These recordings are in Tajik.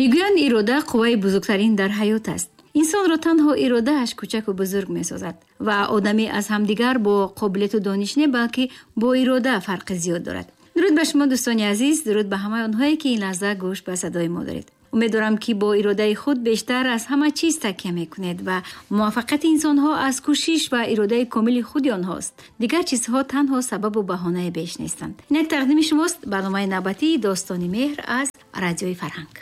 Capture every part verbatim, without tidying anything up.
Мегӯянд, ирода қувваи бузургтарин дар ҳаёт аст. Инсонро танҳо иродааш кӯчаку бузург месозад ва одамӣ аз ҳамдигар бо қобилияту дониш не, балки бо ирода фарқи зиёд дорад. Дуруд ба шумо, дӯстони азиз, дуруд ба ҳамаи онҳое, ки ин лаҳза гӯш ба садои мо доред. Умедворам, ки бо иродаи худ бештар аз ҳама чиз такя мекунед ва муваффақияти инсонҳо аз кӯшиш ва иродаи комили худи онҳост. Дигар чизҳо танҳо сабабу баҳонаи беш нестанд. Инак тақдими шумост барномаи навбатии Достони меҳр аз Радиои Фарҳанг.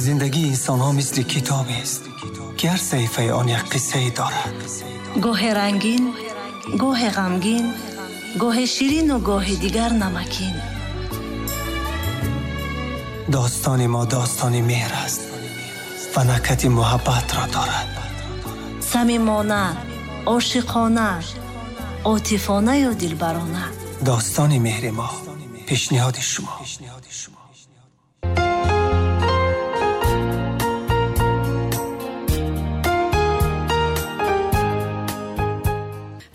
Зиндагии инсонҳо мисли китобест, ки ҳар саҳифаи он як қиссае дорад. Гоҳе рангин, гоҳе ғамгин, гоҳе ширину гоҳе дигар намакин. Достони мо достони меҳр аст ва накати муҳаббатро дорад. Самимона, ошиқона, отифонаю дилбарона. Достони меҳри мо пешниҳоди шумо.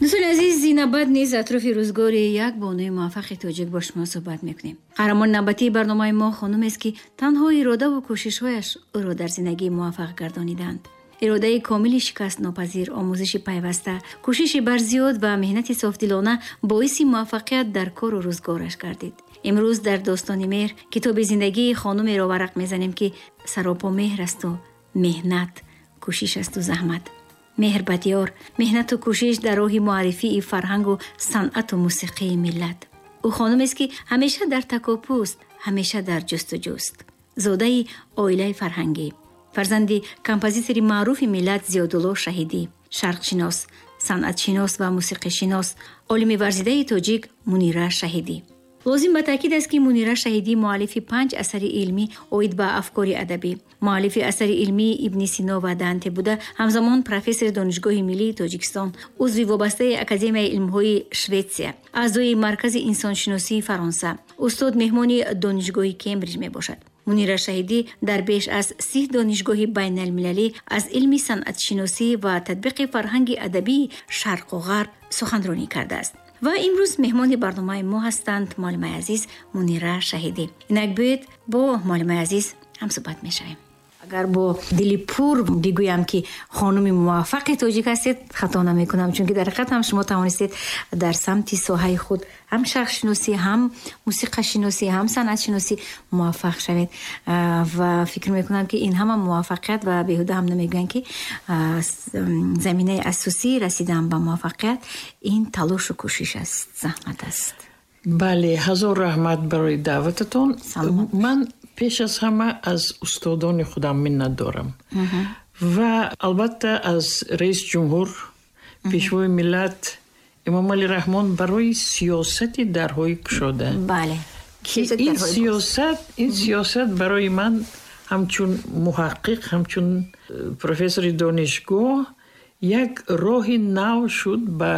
Дӯстони азиз, навбат низ атрофи рӯзгори як бонуи муваффақи тоҷик бо шумо суҳбат мекунем. Қаҳрамони навбатии барномаи мо хонумест, ки танҳо иродаву кӯшишҳояш ӯро дар зиндагӣ муваффақ гардонидаанд. Иродаи комили шикастнопазир, омӯзиши пайваста, кӯшиши барзиёд ва меҳнати софдилона боиси муваффақият дар кору рӯзгораш гардид. Имрӯз дар Достони меҳр китоби зиндагии хонумеро варақ мезанем, ки саропо меҳр асту меҳнат, кӯшиш асту заҳмат. Меҳр ба диёр, меҳнату кӯшиш дар роҳи муаррифии фарҳангу санъату мусиқии миллат. Ӯ хонумест, ки ҳамеша дар такопӯст, ҳамеша дар ҷустуҷӯст. Зодаи оилаи фарҳангӣ, фарзанди композитори маъруфи миллат Зиёдулло Шаҳидӣ, шарқшинос, санъатшинос ва мусиқишинос, олими варзидаи тоҷик Мунира Шаҳидӣ. Лозим ба таъкид аст, ки Мунира Шаҳидӣ муаллифи панҷ асари илмӣ оид ба афкори адабӣ, муаллифи асари илмии Ибни Сино ва Данте буда, ҳамзамон профессори Донишгоҳи миллии Тоҷикистон, узви вобастаи Академияи илмҳои Шветсия, аъзои Маркази инсоншиносии Фаронса, устод меҳмони Донишгоҳи Кембриҷ мебошад. Мунира Шаҳидӣ дар беш аз си донишгоҳи байналмилалӣ аз илми санъатшиносӣ ва татбиқи фарҳанги адабии шарқу ғарб суханронӣ кардааст. Ва имрӯз меҳмони барномаи мо ҳастанд муаллимаи азиз Мунира Шаҳидӣ. Инак биёед бо муаллимаи азиз ҳамсуҳбат мешавем. Агар бо дили пур бигӯям, ки хонуми муваффақи тоҷик ҳастед, хато намекунам, чунки дар ҳақиқат ҳам шумо тавонистед дар самти соҳаи худ ҳам шарқшиносӣ, ҳам мусиқашиносӣ, ҳам санъатшиносӣ муваффақ шавед. Ва фикр мекунам, ки ин ҳама муваффақият ва беҳуда ҳам намегӯянд, ки заминаи асосии расидан ба муваффақият ин талошу кӯшиш аст, заҳмат аст. Бале, ҳазор раҳмат барои даъвататон. Ман пеш аз ҳама аз устодони худам миннат дорам ва албатта аз раис ҷумҳур, пешвои миллат Эмомалӣ Раҳмон барои сиёсати дарҳои кушода. Бале. Ки ин сиёсат, ин сиёсат барои ман ҳамчун муҳаққиқ, ҳамчун профессори донишгоҳ як роҳи нав шуд ба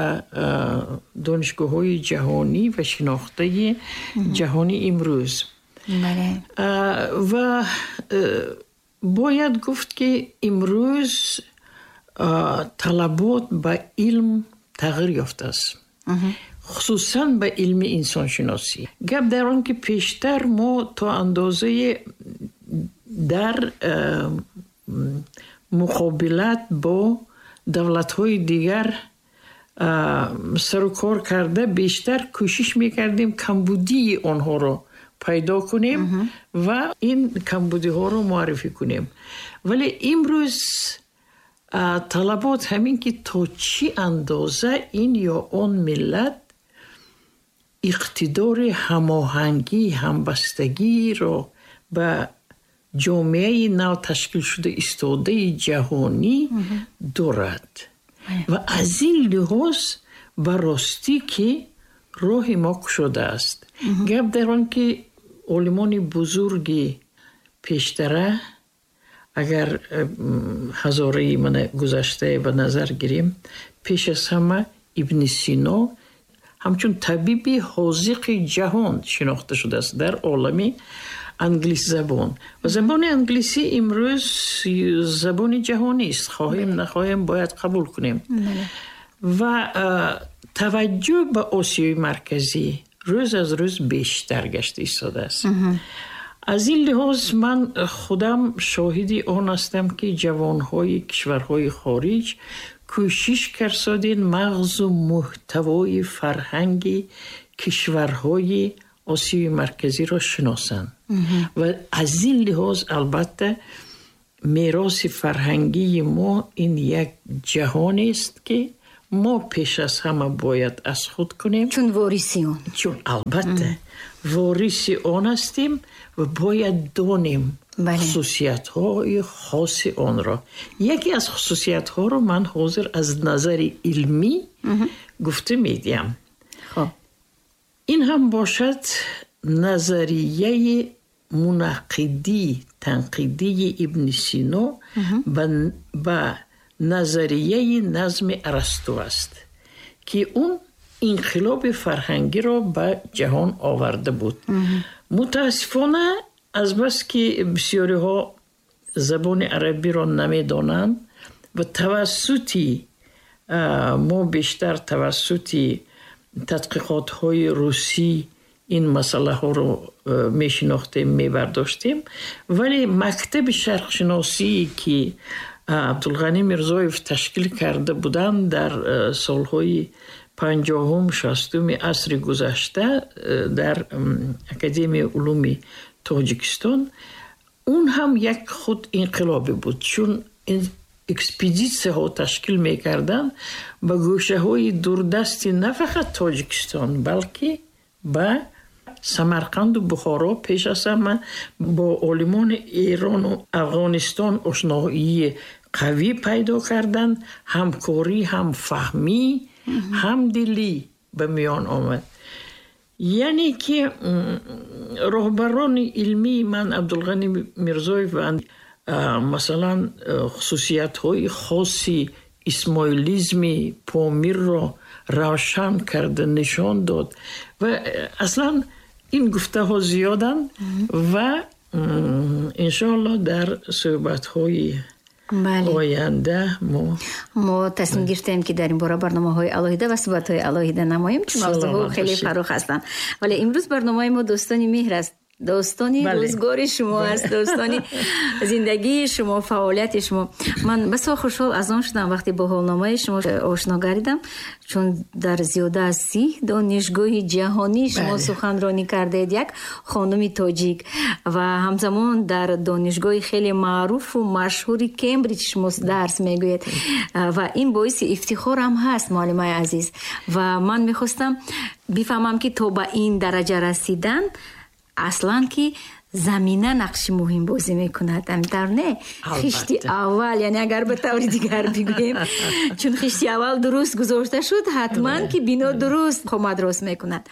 донишгоҳҳои ҷаҳонӣ ва шинохтаи ҷаҳони имрӯз. Бале. Ва бояд гуфт, ки имрӯз талабот ба илм тағйир ёфтааст, хусусан ба илми инсоншиносӣ. Гап дар он, ки пештар мо то андозае дар муқобилат бо давлатҳои дигар сару кор карда бештар кӯшиш мекардем камбудии онҳоро пайдо кунем ва ин камбудиҳоро муаррифӣ кунем. Вале имрӯз талабот ҳамин, ки то чӣ андоза ин ё он миллат иқтидори ҳамоҳангӣ, ҳамбастагиро ба ҷомеаи нав ташкилшуда истодаи ҷаҳонӣ дорад. Ва аз ин лиҳоз ба ростӣ, ки роҳи мо кушодааст. Гап дар он, ки олимони бузурги пештара, агар ҳазораи мана гузаштае ба назар гирем, пеш аз ҳама Ибни Сино ҳамчун табиби ҳозиқи ҷаҳон шинохта шудааст дар олами англисзабон. Ва забони англисӣ имрӯз забони ҷаҳонист, хоҳем нахоҳем бояд қабул кунем. Ва таваҷҷӯҳ ба Осиёи Марказӣ, Рӯз аз рӯз бештар гашта истодааст. Аз ин лиҳоз ман худам шоҳиди он ҳастам, ки ҷавонҳои кишварҳои хориҷ кӯшиш карсодин мағзу муҳтавои фарҳанги кишварҳои Осиёи Марказиро шиносанд. Ва аз ин лиҳоз албатта мероси фарҳангии мо ин як ҷаҳонест, ки мо пеш аз ҳама бояд аз худ кунем. Чун вориси он. Чун албатта вориси он ҳастем ва бояд донем хусусиятҳои хоси онро. Яке аз хусусиятҳоро ман ҳозир аз назари илмӣ гуфта медиҳам. Хоб. Ин ҳам бошад назарияи мунаққидӣ, танқидии Ибни Сино ба назарияи назми Арасту аст, ки он инқилоби фарҳангиро ба ҷаҳон оварда буд. Мутаассифона, азбаски бисёриҳо забони арабиро намедонанд ва тавассути мо бештар тавассути тадқиқотҳои русӣ ин масъалаҳоро мешинохтем, мебардоштем, вале мактаби шарқшиносие, ки Абдулғанӣ Мирзоев ташкил карда буданд дар солҳои панҷоҳум, шастуми асри гузашта дар Академияи улуми Тоҷикистон, он ҳам як худ инқилобе буд, чун экспедитсияҳо ташкил мекарданд ба гӯшаҳои дурдасти на фақат Тоҷикистон, балки ба Самарқанду Бухоро, пеш аз ҳама бо олимони Эрону Афғонистон ошноии қавӣ пайдо карданд, ҳамкорӣ, ҳамфаҳмӣ, ҳамдилӣ ба миён омад. Яъне ки роҳбарони илмии ман Абдулғанӣ Мирзоев ва масалан хусусиятҳои хоси исмоилизми Помирро равшан карда нишон дод. Ва аслан ин гуфтаҳо зиёданд ва иншоаллоҳ дар суҳбатҳои оянда мо мо тасмим гирифтем, ки дар ин бора барномаҳои алоҳида ва суҳбатҳои алоҳида намоем, чун мавзӯъҳо хеле фарох ҳастанд. Вале имрӯз барномаи мо дӯстони меҳр аст, достони рӯзгори шумо аст, достони зиндагии шумо, фаъолияти шумо. Ман басо хушҳол аз он шудам, вақте бо ҳолномаи шумо ошно гардидам, чун дар зиёда аз си донишгоҳи ҷаҳонӣ шумо суханронӣ кардаед, як хонуми тоҷик, ва ҳамзамон дар донишгоҳи хеле маъруфу машҳури Кембриҷ шумо дарс мегӯед, ва ин боиси ифтихор ҳам ҳаст, муаллимаи азиз. Ва ман мехостам бифаҳмам, ки то ба ин дараҷа расидан аслан ки замина нақши муҳим бозӣ мекунад, ҳаминтавр не? Хишти аввал, яъне агар ба таври дигар бигӯем, чун хишти аввал дуруст гузошта шуд, ҳатман ки бино дуруст қомат рост мекунад.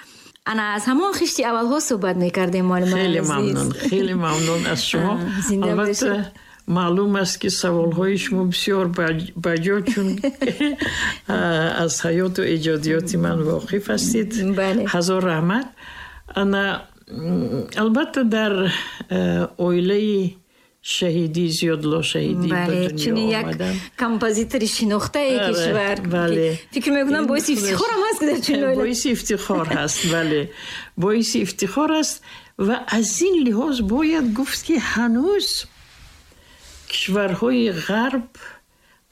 Ана аз ҳамон хишти аввалҳо суҳбат мекардем, муаллимаи азиз. Хеле мамнун, хеле мамнун аз шумо. Албатта маълум аст, ки саволҳои шумо бисёр баҷо, чун аз ҳаёту эҷодиёти ман воқиф ҳастед. Ҳазор раҳмат. Ана албатта дар оилаи шаҳидӣ, Зиёдулло Шаҳидӣ ба дунё омадам. Як композитори шинохтаи кишвар. Фикр мекунам боиси ифтихор ҳам ҳаст, ки дар чунин оила. Боиси ифтихор ҳаст, бале. Боиси ифтихор аст ва аз ин лиҳоз бояд гуфт, ки ҳанӯз кишварҳои ғарб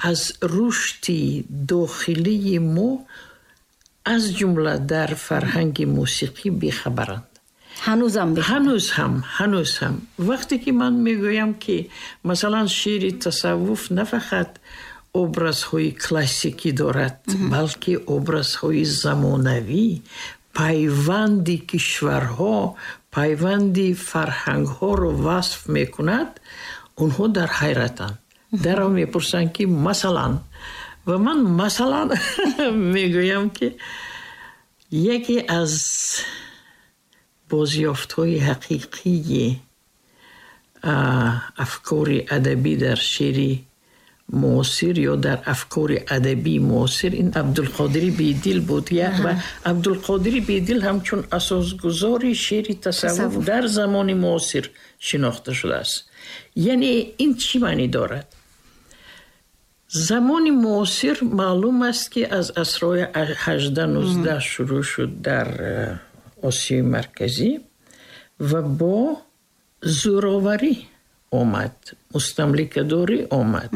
аз рушди дохилии мо, аз ҷумла дар фарҳанги мусиқӣ, бехабаранд. Ҳанӯзам ҳанӯз ҳам ҳанӯз ҳам вақте ки ман мегӯям, ки масалан шеъри тасаввуф на фақат образҳои классикӣ дорад, балки образҳои замонавӣ, пайванди кишварҳо, пайванди фарҳангҳоро васф мекунад, онҳо дар ҳайратанд. Дарав мепурсанд, ки масалан, ва ман масалан мегӯям, ки яке аз бозёфтҳои ҳақиқии афкори адабӣ дар шеъри муосир ё дар афкори адабии муосир ин Абдулқодири Бедил буд. Ва Абдулқодири Бедил ҳамчун асосгузори шеъри тасаввуф дар замони муосир шинохта шудааст. Яъне ин чӣ маънӣ дорад? Замони муосир маълум аст, ки аз асрҳои ҳаждаҳ нуздаҳ шурӯъ шуд дар Осиёи Марказӣ ва бо зӯроварӣ омад, мустамликадорӣ омад.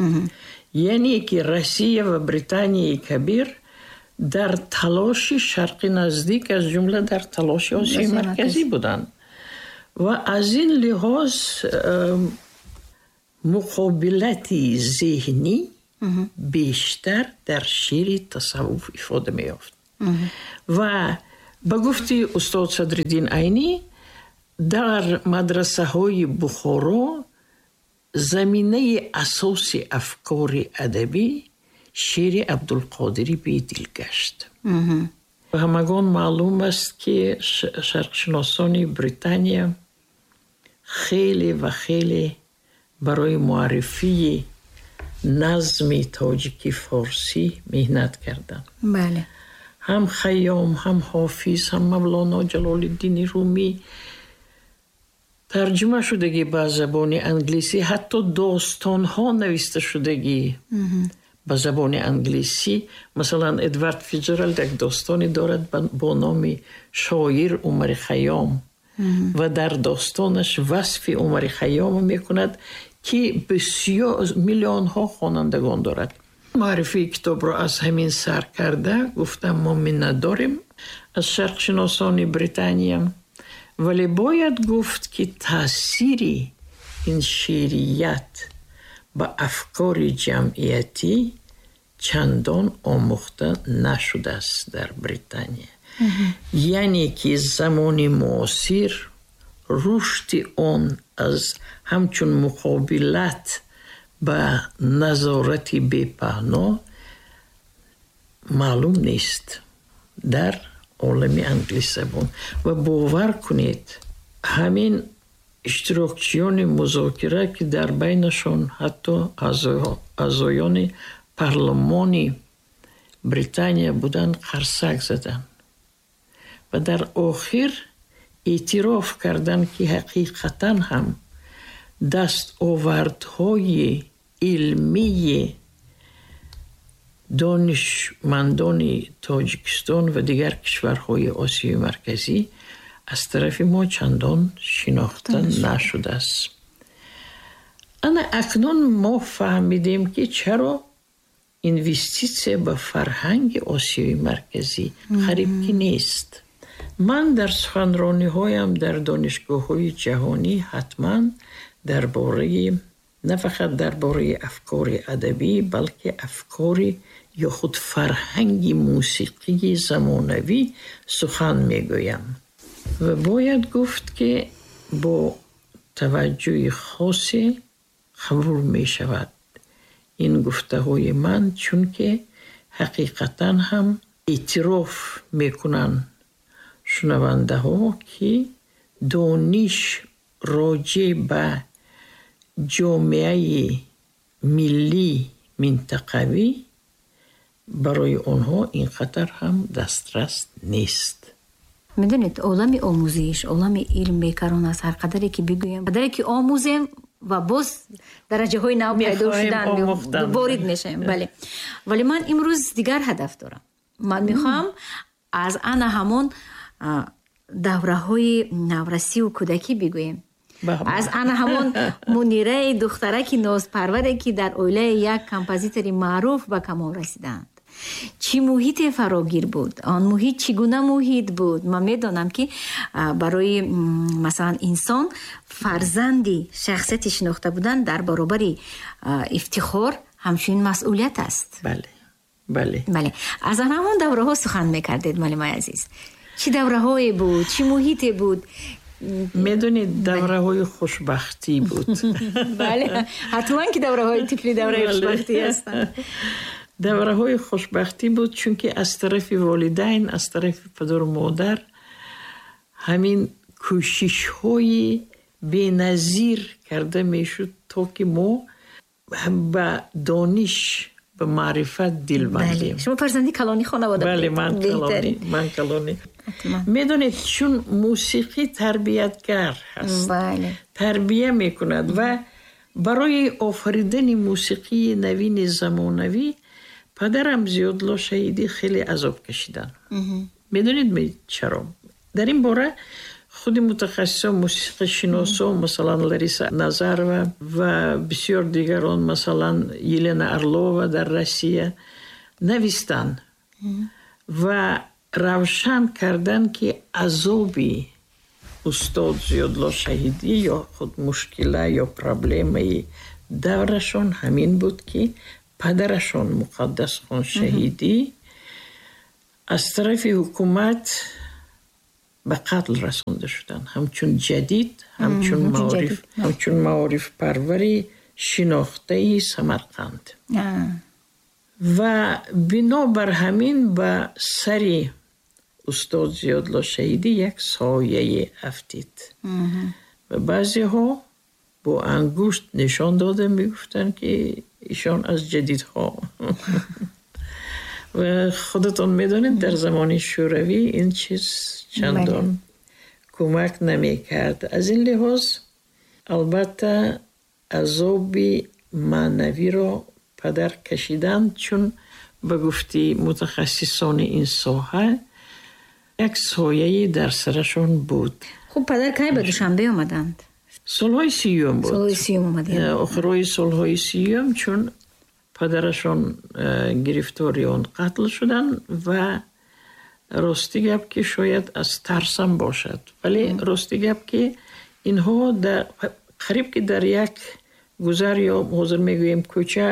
Яъне ки Россия ва Британияи Кабир дар талоши Шарқи Наздик, аз ҷумла дар талоши Осиёи Марказӣ буданд. Ва аз ин лиҳоз муқобилати зеҳнӣ бештар дар шеъри тасаввуф ифода меёфт. Ва ба гуфти устод Садриддин Айнӣ, дар мадрасаҳои Бухоро заминаи асоси афкори адабӣ шеъри Абдулқодири Бедил гашт. Ба ҳамагон маълум аст, ки шарқшиносони Британия хеле ва хеле барои муаррифии назми тоҷики форсӣ меҳнат карданд. Бале. Ҳам Хайём, ҳам Ҳофиз, ҳам Мавлоно Ҷалолиддини Румӣ тарҷума шудагӣ ба забони англисӣ, ҳатто достонҳо нависта шудагӣ ба забони англисӣ. Масалан, Эдвард Фитҷералд як достоне дорад бо номи Шоир Умари Хайём ва дар достонаш васфи Умари Хайёмро мекунад, ки бисёр миллионҳо хонандагон дорад. Муаррифии китобро аз ҳамин сар карда гуфтам, мо миннатдорем аз шарқшиносони Британия, вале бояд гуфт, ки таъсири ин шеърият ба афкори ҷамъиятӣ чандон омӯхта нашудааст дар Британия. Яъне ки замони муосир рушди он аз ҳамчун муқобилат ба назорати бепаҳно маълум нест дар олами англисзабон. Ва бовар кунед, ҳамин иштирокчиёни музокира, ки дар байнашон ҳатто аъзоёни парлумони Британия буданд, қарсак заданд ва дар охир эътироф карданд, ки ҳақиқатан ҳам дастовардҳои илмии донишмандони Тоҷикистон ва дигар кишварҳои Осиёи Марказӣ аз тарафи мо чандон шинохта нашудааст. Ана акнун мо фаҳмидем, ки чаро инвеститсия ба фарҳанги Осиёи Марказӣ қариб ки нест. Ман дар суханрониҳоям дар донишгоҳҳои ҷаҳонӣ ҳатман дар бораи на фақат дар бораи афкори адабӣ, балки афкори ё худ фарҳанги мусиқии замонавӣ сухан мегӯям. Ва бояд гуфт, ки бо таваҷҷӯҳи хосе қабул мешавад ин гуфтаҳои ман, чунки ҳақиқатан ҳам эътироф мекунанд шунавандаҳо, ки дониш роҷеъ ба ҷомеаи миллӣ минтақавӣ барои онҳо ин қадар ҳам дастрас нест. Медонед, олами омӯзиш, олами илм бекарон аст. Ҳар қадаре ки бигӯем, қадаре ки омӯзем ва боз дараҷаҳои нав пайдо шудан ворид мешавем. Бале. Вале ман имрӯз дигар ҳадаф дорам. Ман мехоҳам аз ана ҳамон давраҳои наврасиву кӯдакӣ бигӯем. Аз ана ҳамон Мунираи духтараки нозпарваре, ки дар оилаи як композитори маъруф ба камол расиданд. Чӣ муҳите фарогир буд? Он муҳит чӣ гуна муҳит буд? Ман медонам, ки барои масалан инсон фарзанди шахсияти шинохта будан дар баробари ифтихор ҳамчунин масъулият аст. Бале, бале. Бале. Аз ана ҳамон давраҳо сухан мекардед, муаллимаи азиз. Чӣ давраҳое буд? Чӣ муҳите буд? Медонед, давраҳои хушбахтӣ буд. Бале, ҳатман ки давраҳои тифлӣ давраи хушбахтӣ ҳастанд. Давраҳои хушбахтӣ буд, чунки аз тарафи волидайн, аз тарафи падару модар ҳамин кӯшишҳои беназир карда мешуд, то ки мо ба дониш, ба маърифат дил бандем. Шумо фарзанди калони хонавода будед? Бале, ман калонӣ, ман калонӣ. Медонед, чун мусиқӣ тарбиятгар ҳаст, тарбия мекунад ва барои офаридани мусиқии навини замонавӣ падарам Зиёдло Шаҳидӣ хеле азоб кашиданд. Медонед чаро? Дар ин бора худи мутахассисон, мусиқишиносо, масалан Лариса Назарова ва бисёр дигарон, масалан Елена Орлова дар Россия навистанд ва равшан карданд, ки азоби устод Зиёдулло Шаҳидӣ ё худ мушкила ё проблемаи даврашон ҳамин буд, ки падарашон Муқаддасхон Шаҳидӣ аз тарафи ҳукумат ба қатл расонда шуданд, ҳамчун ҷадид, ҳамчун маориф, ҳамчун маорифпарвари шинохтаи Самарқанд. Ва бинобар ҳамин ба сари устод Зиёдулло Шаҳидӣ як сояе афтид. Ва баъзеҳо бо ангушт нишон дода мегуфтанд, ки ишон аз ҷадидҳо. Ва худатон медонед, дар замони Шӯравӣ ин чиз чандон кӯмак намекард. Аз ин лиҳоз албатта азоби маънавиро падар кашиданд, чун ба гуфти мутахассисони ин соҳа як сояе дар сарашон буд. Хуб, падар кай ба Душанбе омаданд? Солҳои сиюм буд. Солҳои сиюм омаданд. Охирои солҳои сиюм, чун падарашон гирифтори он қатл шуданд ва рости гап ки шояд аз тарсам бошад, вале рости гап ки инҳо қариб ки дар як гузар ё ҳозир мегӯем кӯча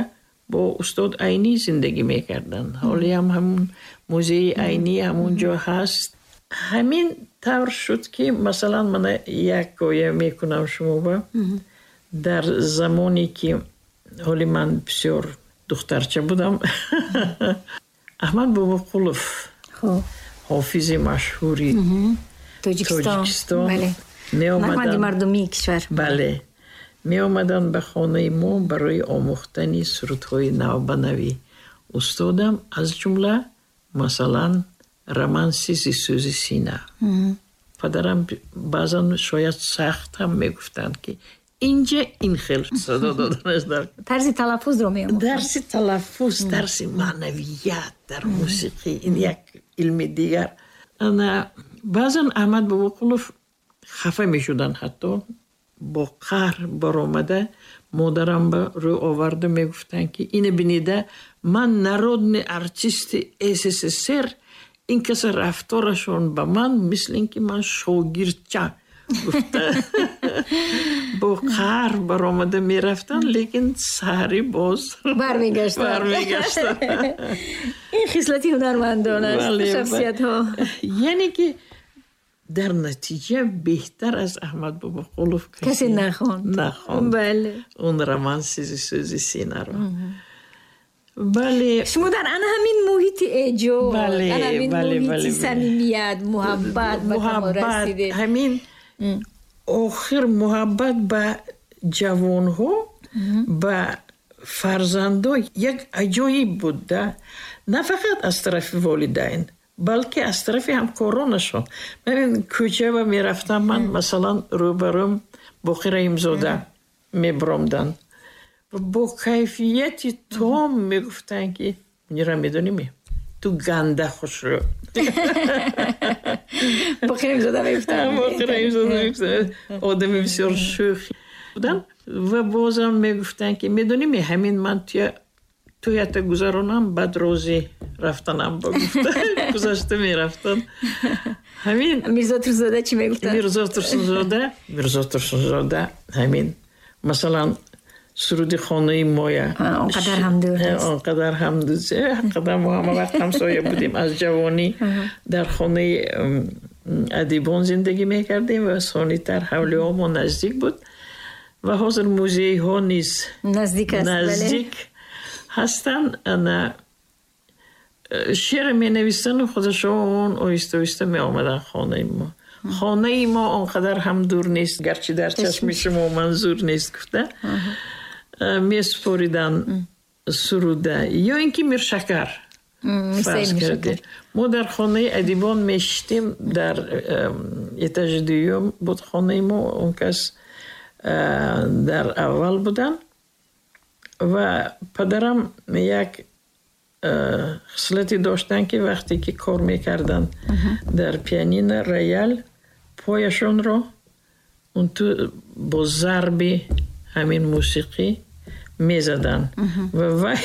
бо устод Айнӣ зиндагӣ мекарданд. Ҳолиам ҳамун музеи Айнӣ ҳамун ҷо ҳаст. Ҳамин тавр шуд, ки масалан мана як ҳикоя мекунам шумоба. Дар замоне ки ҳоли ман бисёр духтарча будам, Аҳмад Бобоқулов, ҳофизи машҳури Тоҷикистон, меомаданд мардумии кишвар. Бале, меомаданд ба хонаи мо барои омӯхтани сурудҳои навбанавӣ. Устодам аз ҷумла масалан романси «Зи сӯзи сина». Падарам баъзан шояд сахт ҳам мегуфтанд, ки инҷа ин хел садо доданаш дар тарзи талаффузро меомӯхтанд. Дарси талаффуз, дарси маънавият дар мусиқӣ, ин як илми дигар. Ана баъзан Аҳмад Бобоқулов хафа мешуданд, ҳатто бо қаҳр баромада модарам ба рӯ оварда мегуфтанд, ки ина бинида, ман народный артисти С С С Р, ин каса рафторашон ба ман мисли ин ки ман шогирдча гуфта бо қаҳр баромада мерафтанд, лекин саҳарӣ боз бармегаштанд. Бармегаштанд. Ин хислати ҳунармандон аст, шахсиятҳо. Яъне ки дар натиҷа беҳтар аз Аҳмад Бобоқулов касе нахонд. Нахонд. Бале. Он романси «Зи сӯзи синаро». Бале. Шумо дар ана ҳамин муҳити эҷод, ана ҳамин муҳити самимият, муҳаббат ба камол расидед. Ҳамин охир муҳаббат ба ҷавонҳо, ба фарзандо як аҷоиб буд да, на фақат аз тарафи волидайн, балки аз тарафи ҳамкоронашон. Ман кӯча мерафтам, ман масалан рӯбарӯм Боқир Раҳимзода мебиромданд ва бо кайфияти том мегуфтанд, ки Мунира, медонӣ, ту ганда хушрӯ. Боқир Раҳимзода мегуфтанд. Боқир Раҳимзода мегуфтанд, одами бисёр шӯх буданд. Ва бозам мегуфтанд, ки медонӣ, ҳамин ман туя туята гузаронам, баъд розӣ рафтанам ба гуфта гузашта мерафтанд. Ҳамин. Мирзо Турсунзода чӣ мегуфтанд? Мирзо Турсунзода, Мирзо Турсунзода ҳамин масалан суруди «Хонаи моя». Он қадар ҳам дур нест. Он қадар ҳам қадар мо ҳама вақт ҳамсоя будем. Аз ҷавонӣ дар хонаи адибон зиндагӣ мекардем ва сонитар ҳавлиҳо мо наздик буд ва ҳозир музейҳо низ наздик аст. Наздик ҳастанд. Ана шеър менавистану худашон оҳиста оҳиста меомаданд хонаи мо. «Хонаи мо он қадар ҳам дур нест, гарчи дар чашми шумо манзур нест», гуфта месупориданд суруда. Ё ин ки Миршакар, фарз кардем, мо дар хонаи адибон мешиштем, дар этажи дуюм буд хонаи мо, он кас дар аввал буданд. Ва падарам як Хислате доштанд, ки вақте ки кор мекарданд дар пианино, роял, пояшонро он ту бо зарби ҳамин мусиқӣ мезаданд ва вай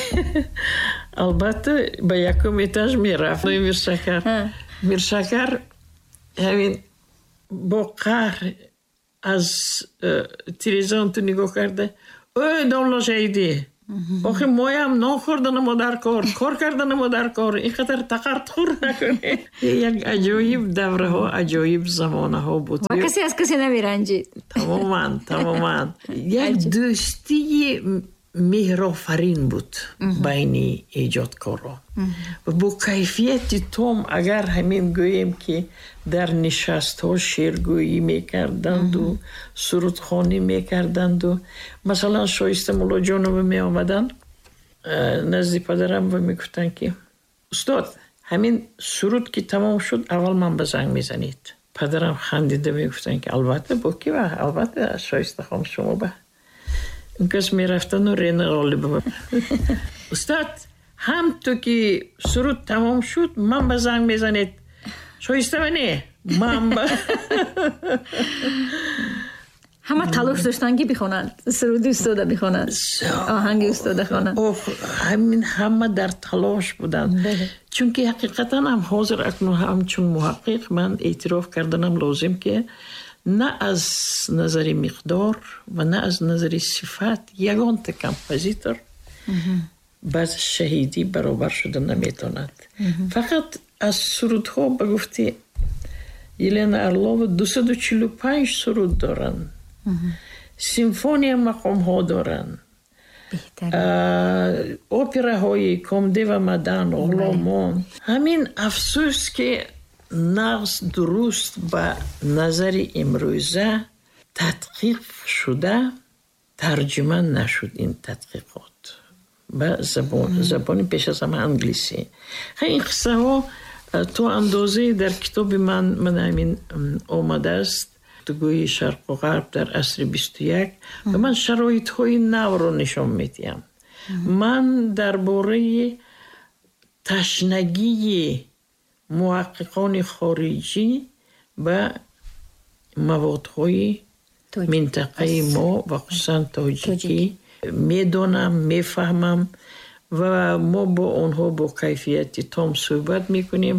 албатта ба якум этаж мерафт. Миршакар Миршакар ҳамин бо қаҳр аз э, телевизион ту нигоҳ карда: «Ой, домла Шаҳидӣ, охи моям нон хӯрданамо дар кор, кор карданамо дар кор, ин қадар тақартхӯр накунӣ». Як аҷоиб давраҳо, аҷоиб замонаҳо буд. Ва касе аз касе намеранҷид. Тамоман, тамоман. Як дӯстии меҳрофарин буд байни эҷодкорон ва бо кайфияти том. Агар ҳамин гӯем, ки дар нишастҳо шеъргӯӣ мекарданду сурудхонӣ мекарданду, масалан, Шоиста Муллоҷонова меомаданд э, назди падарам ва мегуфтанд, ки устод, ҳамин суруд ки тамом шуд, аввал ман ба занг мезанед. Падарам хандида мегуфтанд, ки албатта, бо ки, албатта, Шоиста хон, шумо ба. Он кас мерафтану Рена Ғолибова: «Устод, ҳам ту ки суруд тамом шуд, ман ба занг мезанед, Шоистава не, ман ба». Ҳама талош доштанд, ки бихонанд суруди устода, бихонанд оҳанги устода хонанд. Ҳамин ҳама дар талош буданд, чунки ҳақиқатан ҳам ҳозир акнун ҳамчун муҳаққиқ ман эътироф карданам лозим, ки на аз назари миқдор ва на аз назари сифат ягонта композитор ба Шаҳидӣ баробар шуда наметавонад. Фақат аз сурудҳо, ба гуфти Елена Орлова, дусаду чилу панҷ суруд доранд, симфония мақомҳо доранд, операҳои Комдева Мадан, Ғуломон. Ҳамин афсӯс, ки нағз, дуруст ба назари имрӯза тадқиқ шуда тарҷума нашуд ин тадқиқот ба забони, пеш аз ҳама, англисӣ. Ин қиссаҳо то андозае дар китоби ман ман ҳамин омадааст, Гуфтугӯи Шарқу Ғарб дар асри бисту як, ва ман шароитҳои навро нишон медиҳам. Ман дар бораи ташнагии муҳаққиқони хориҷӣ ба маводҳои минтақаи мо ва хусусан тоҷикӣ медонам, мефаҳмам ва мо бо онҳо бо кайфияти том суҳбат мекунем.